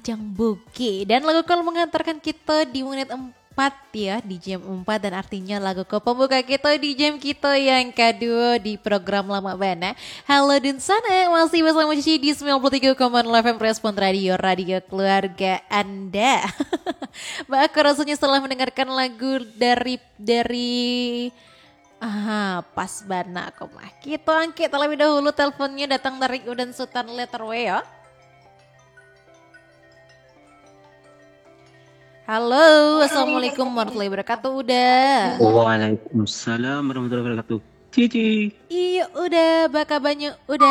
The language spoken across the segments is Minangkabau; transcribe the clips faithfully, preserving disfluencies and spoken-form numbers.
Jang Bukik. Dan lagu ko mengantarkan kita di menit empat ya, di jam empat, dan artinya lagu ko pembuka kita di jam kita yang kedua di program Lama Bana. Halo Dunsanak, masih bersama Cici di sembilan puluh tiga koma nol F M Respon Radio, radio keluarga Anda. Baa rasanya setelah mendengarkan lagu dari, dari, ah, pas bana ko mah. Kita angkek terlebih dahulu teleponnya datang dari Uda Sutan Letter W ya. Halo, assalamualaikum warahmatullahi wabarakatuh, Uda. Waalaikumsalam warahmatullahi wabarakatuh. Cici. Iyo, Uda, baa kabanyo, Uda?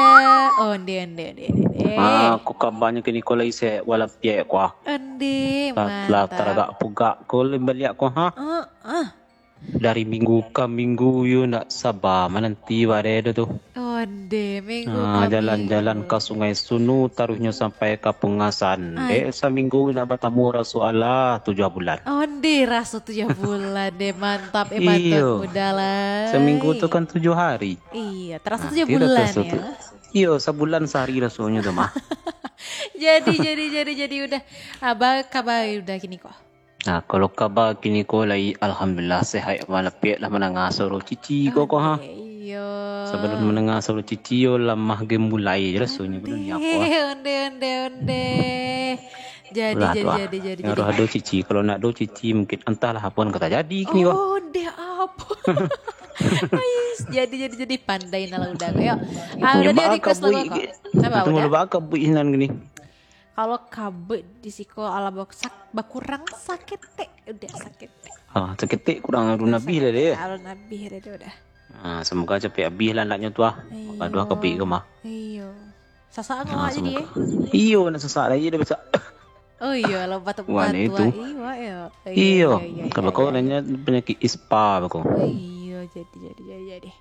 Onde, onde, onde, onde. Ah, ko kabanyo kini ko lai sehat walafiat ko, ah. Onde, lah, lah mantap. Taragak pugak ko lai baliak ko, ha? Ah, ah. Dari minggu ka minggu, yo ndak saba mananti badai tu. Onde, minggu Ah, ka jalan-jalan minggu. Ka Sungai Sunu, taruihnyo sampai ka Pungasan. Ai. Dek, saminggu ndak batamu raso alah tujuah bulan. Onde, raso tujuah bulan, deh, mantap, eh, mantap, Iyo. Uda lai. Saminggu tu kan tujuah hari. Iyo, taraso Ah, tujuah tidak bulan, taraso ya. Tu. Iyo, sabulan sahari rasonyo tu mah. Jadi, jadi, jadi, jadi, Uda. Baa kabar Uda kini ko? Nah, kalau kaba kini ko lai, alhamdulillah, sehat walafiat lah mandanga suaro Cici ko, ko, ha. Onde, iyo. Sabalun mandanga suaro Cici yo, lamah ge mulai je rasonyo, onde, badan ni apo, ah. Onde, onde, onde. Jadi, Lah, jadi, tu, ah. Jadi, jadi, Harus jadi. Ado Cici. Kalau ndak ado Cici, mungkin antahlah apo nan ka tajadi kini ko. Onde, apo? Ais, jadi, jadi, jadi, pandai nah lah Uda ko, yo. Ah, Uda, Uda, baa request lagu kabuik ko. Ge. Apo, Uda? Tunggu lu, baa kabuik sinan kini. Kalau kabuik di siko, alah, bak-, sak-, bakurang saketek, Uda, saketek. Ah, saketek kurang alun abih lah deh. Saketek alun abih lah deh, Uda. Ah, semoga capek abih lah andaknyo tu, ah. Iyo. Aduh, kabuik ko mah. Iyo. Sasak Ah, awak jadi, semoga. Eh? Iyo, nak sasak lagi dah biasa. Oh iyo, alah, batuk-batuk, Wah, itu. Ah, iyo, iyo. Iyo, Iyo, iyo, iyo, kalau iyo, kau iyo. Nanya penyakit ispa, bako. Oh iyo, jadi, jadi, jadi, jadi.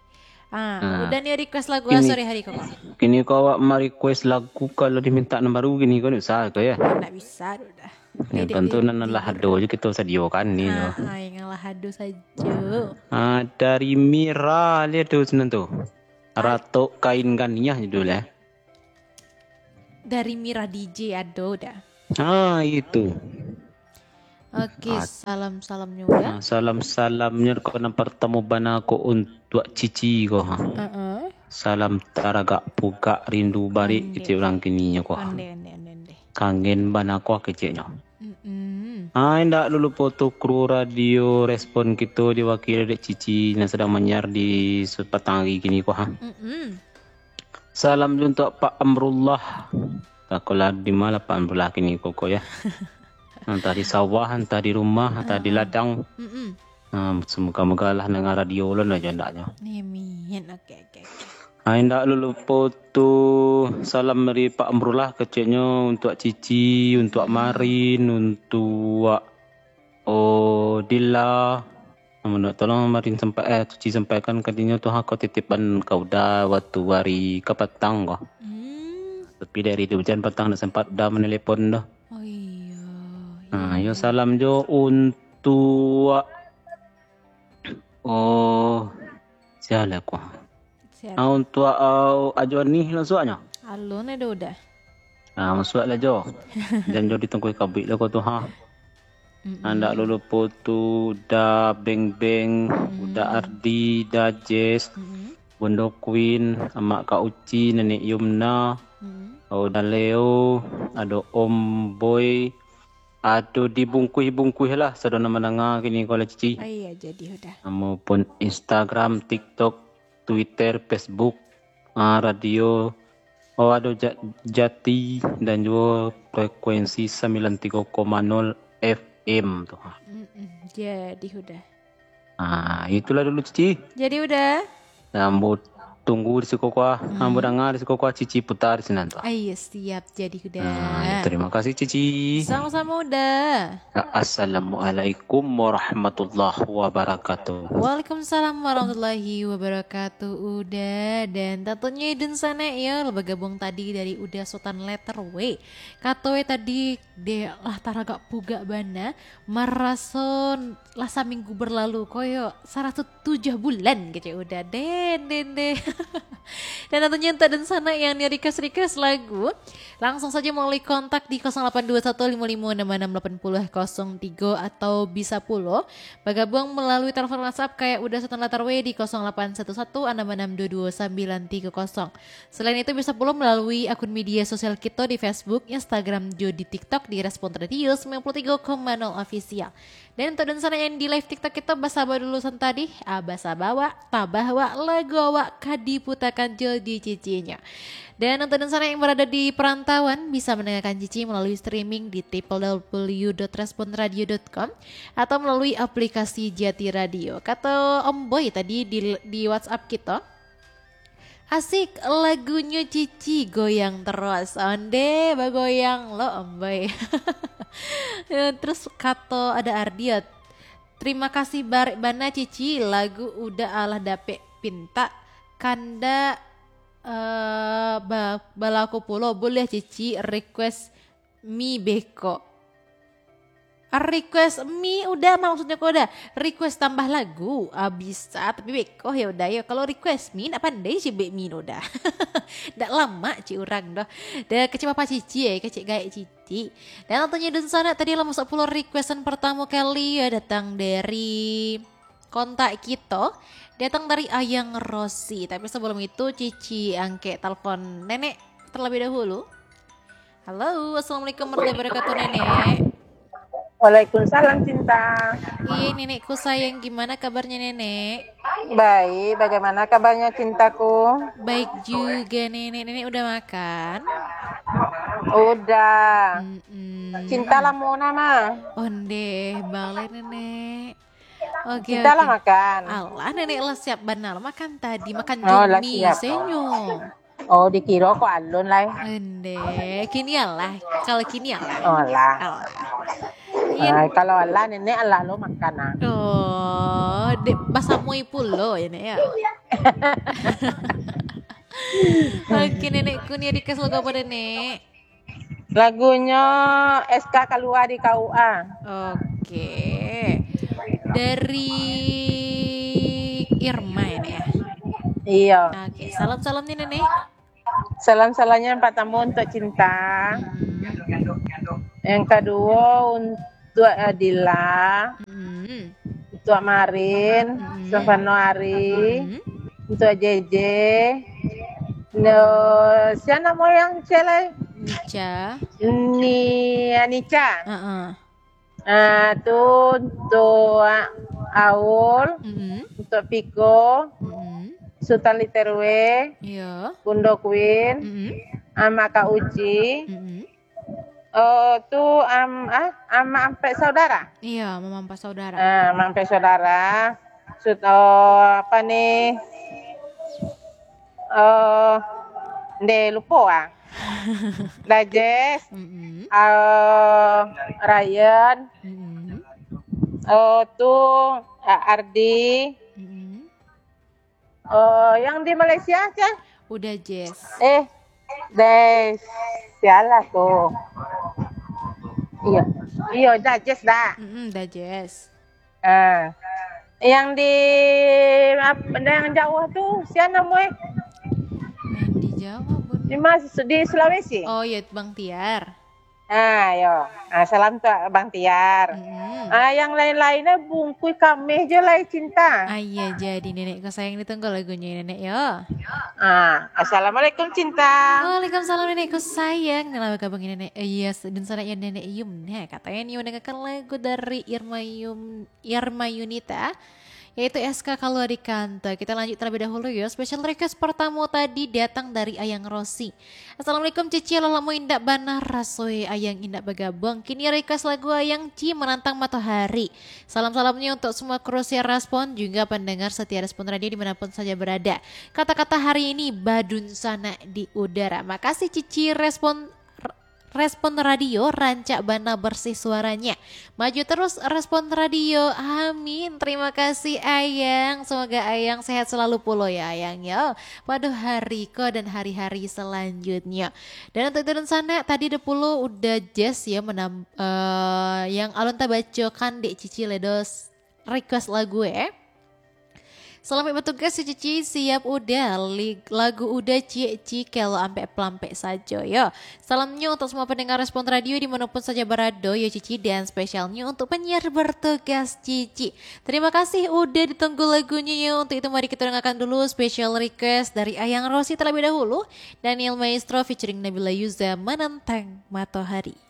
Ah, Ah. Uda ni request lagu Kini, sore hari ko, Kak? Kini ko awak ma-request lagu, kalau diminta nan baru kini ko ndak usah ko, ya? Ndak bisa, Uda. Yang Dek, penting dek, nan dek. Lah ado je kita sadiokan ni, Ah, yo. Ah, yang lah ado sajo. Ah, dari Mira lihat tu senang tu. Ad- Ratok Kain Ganiah judul, eh. Dari Mira D J ado, Uda. Ah, itu. Oke, Ah. Salam-salamnyo, Uda. Ah, salam-salamnyo ko nan partamo bana ko untuak Cici ko, ha. Heeh. Salam taragak pugak rindu barik Onde. Kecek urang kininyo ko, ha. Onde, onde, onde, onde. Kangen bana ko keceknyo. Mm-mm. Ah, indak lulupo tu kru radio Respon kito diwakili dek Cici nan sadang manyiar di sapatang hari kini ko, ha. Mm-mm. Salam jo untuak Pak Amrullah. Takolah di ma lah Pak Amrullah kini ko, ko, ya. Antah di sawah, antah di rumah, antah di Ah. ladang. Mm-mm. Ah, semoga-moga lah nanga radio ulun aja andaknyo. Amin. Oke, oke, oke. Ah, indak lulupo tu salam dari Pak Amrullah keceknyo untuak Cici, untuak Mm. Marin, untuak Oh, Dila, anu, tolong Marin sampai, eh, Cici sampaikan ka dinyo tu, ha, ko titipan ka Uda waktu hari kapatang ko. Hmm. Tapi dari tu hujan patang ndak sempat Uda manelepon doh. Oh iyo. Ah, iyo, salam jo untuak, oh, sia lah ko. Siap. Ah, untuak, ah, Ajo Anih lah suaknyo. Alun ado Uda. Ah, masuak lah jo. Jan jo ditungkui kabuik lah ko tu, ha. Mm-mm. Andak lulupo tu Uda Beng Beng, Mm. Uda Ardi, Uda Jess, Mm-mm. Bondo Queen, Amak Kak Uci, Nenek Yumna, Mm. Uda Leo, ado Om Boy, ado dibungkuih-bungkuih lah, sado nan mandanga kini ko lah, Cici. Oh iya, jadi Uda. Namo pun Instagram, TikTok, Twitter, Facebook, ah, radio, oh, ado Ja-, Jati dan juo frekuensi sambilan tigo koma nol F M tu. Mm-mm, jadi Uda. Ah, itulah dulu, Cici. Jadi Uda. Ambo tunggu di siko ko, ah. Hmm. Ambo danga di siko ko, ah, Cici putar di sinan tu. Ah, iya, siap. Jadi Uda. Ah, ya, terima kasih, Cici. Sama-sama, Uda. Assalamualaikum warahmatullahi wabarakatuh. Waalaikumsalam warahmatullahi wabarakatuh, Uda. Dan tentunya Idun Sanek, ya, lah bagabuang tadi dari Uda Sutan Letter W. Kato e tadi, deh, lah taragak pugak bana, maraso lah saminggu berlalu, koyo saratus tujuah bulan, kecek Uda. Den, den, den. Dan tentunya untuk dunsanak yang ni request-request lagu, langsung saja melalui kontak di kosong lapan dua satu lima lima enam enam lapan puluh kosong tiga atau bisa pulo bagabuang melalui telepon WhatsApp kayak udah setan latar we di kosong lapan satu satu enam enam dua dua sembilan tiga kosong. Selain itu bisa pulo melalui akun media sosial kita di Facebook, Instagram, jo di TikTok di Respon Radio sembilan puluh tiga koma nol Official. Dan untuk dunsanak yang di live TikTok kita, basaba dulu san tadi, ah, basaba awak, tabah awak, lagu awak ka diputakan jo di Cicinyo. Dan untuk dunsanak yang berada di perantauan, bisa mendengarkan Cici melalui streaming di triple w dot respon radio dot com atau melalui aplikasi Jati Radio. Kata Om Boy tadi di, di WhatsApp kita, "Asik lagunyo Cici, goyang terus." Onde, bagoyang lo, Om Boy. Ya, terus kato ada Ardiat, "Terima kasih barek bana Cici, lagu udah alah dapek pintak, kanda eh, ba, balaku pulo, boleh Cici request mi beko." Request mi udah, maksudnya ko udah request tambah lagu, ah, bisa, tapi beko ya udah ya. Kalau request mi, nak pandai cibek mi udah. Ndak lama cik urang doh. Dah kecil papa Cici ya, kecil gaek Cici. Dan tentunya dunsanak tadi lah masuk pulo requestan pertama kali ya, datang dari kontak kito, datang dari Ayang Rosi. Tapi sebelum itu, Cici angkek telepon Nenek terlebih dahulu. Halo, assalamualaikum warahmatullahi wabarakatuh, Nenek. Waalaikumsalam, Cinta. Iya, Nenekku sayang, gimana kabarnya, Nenek? Baik, bagaimana kabarnya, Cintaku? Baik juga, Nenek. Nenek udah makan? Udah. Mm-mm. Cinta lah mau nama? Onde, balai, Nenek. Oke, Cinta lah oke. Makan. Alah, Nenek lah siap bana lah makan tadi, makan Oh, lah jumi siap. Senyo. Oh, dikiro ko alun lai. Ende, kini alah. Kalau kini alah. Oh, alah. Alah. Iya. Ah, kalau alah, Nenek alah lo makan ah. Oh, dek basamui pulo ya, Nek, ya. Oke, Nenekku ni request lagu apa, Nenek? Lagunyo S K Kalua di K U A. Oke. Dari Irma ya, Nek, ya? Iya. Oke, salam-salam nih, Nenek. Salam-salamnya yang pertama untuk Cinta. Hmm. Yang kedua untuk Adila. Hmm. Untuk Marin, hmm. Stefano Ari, hmm. Untuk J J. No, siapa nama yang cewek? Nica. Ni Anica. Heeh. Ah, tu untuk Aul, mm-mm. Untuk Piko, mm-mm. Sultan Literwe, iya. Bundo Queen, mm-mm. Ama Kak Uci, mm-mm. Oh, tu am, ah, Ama Ampek Saudara. Iya, Mama Ampek Saudara. Ah, Ama Ampek Saudara. Sut, oh, apa ni? Oh, nde lupo ah. Dajes, mm-mm. Ah, Ryan, mm-mm. Oh, tu, ah, Ardi. Mm-mm. Oh, yang di Malaysia, Cah? Udah, Jess. Eh, Des. Sialah tu. Iya. Iya, Dajes dah. Mm-mm, Dajes. Ah. Yang di ap-, yang jauh tu, siapa nama eh? Yang di Jawa, Bun. Di Mas-, di Sulawesi? Oh, iya, Bang Tiar. Ah, yo. Ah, salam tu Bang Tiar. Mm-mm. Ah, yang lain-lainnya bungkui kameh je lah, Cinta. Ah, iya, jadi Nenek ko sayang ditunggu lagunya, Nenek, yo. Ah, Assalamualaikum, Cinta. Waalaikumsalam, Nenek ko sayang. Nah, apa kabar Nenek? Eh, iya, dunsanak ya, Nenek Yum. Nah, katanya ni mendengarkan lagu dari Irma Yum, Irma Yunita, yaitu S K Kalua di Kantor. Kita lanjut terlebih dahulu yo. Special request pertama tadi datang dari Ayang Rosi. "Assalamualaikum Cici, alah lamo indak bana rasoi Ayang indak bagabuang. Kini request lagu Ayang Ci Menantang Matohari. Salam-salamnya untuk semua kru siar Respon, juga pendengar setia Respon Radio dimanapun saja berada. Kata-kata hari ini badunsanak di udara." Makasih Cici Respon Respon Radio, rancak bana bersih suaranya. Maju terus Respon Radio. Amin. Terima kasih Ayang. Semoga Ayang sehat selalu pulo ya Ayang ya. Pada hari ko dan hari-hari selanjutnya. Dan untuk itu dunsanak, tadi ada pulo udah Jess ya menam-, eh, yang alun tabacokan dek Cici Ledos request lagu eh. Salamaik batugas yo Cici, siap Uda, li-, lagu Uda ciek-ciek kalau ampek-pelampek sajo yo. Salamnyo untuk semua pendengar Respon Radio di manopun saja barado yo Cici, dan spesialnyo untuk penyiar bertugas Cici. Terima kasih Uda, ditunggu lagunyo yo. Untuk itu mari kita dengarkan dulu special request dari Ayang Rosi terlebih dahulu. Daniel Maestro featuring Nabila Yuza, Menentang Matohari.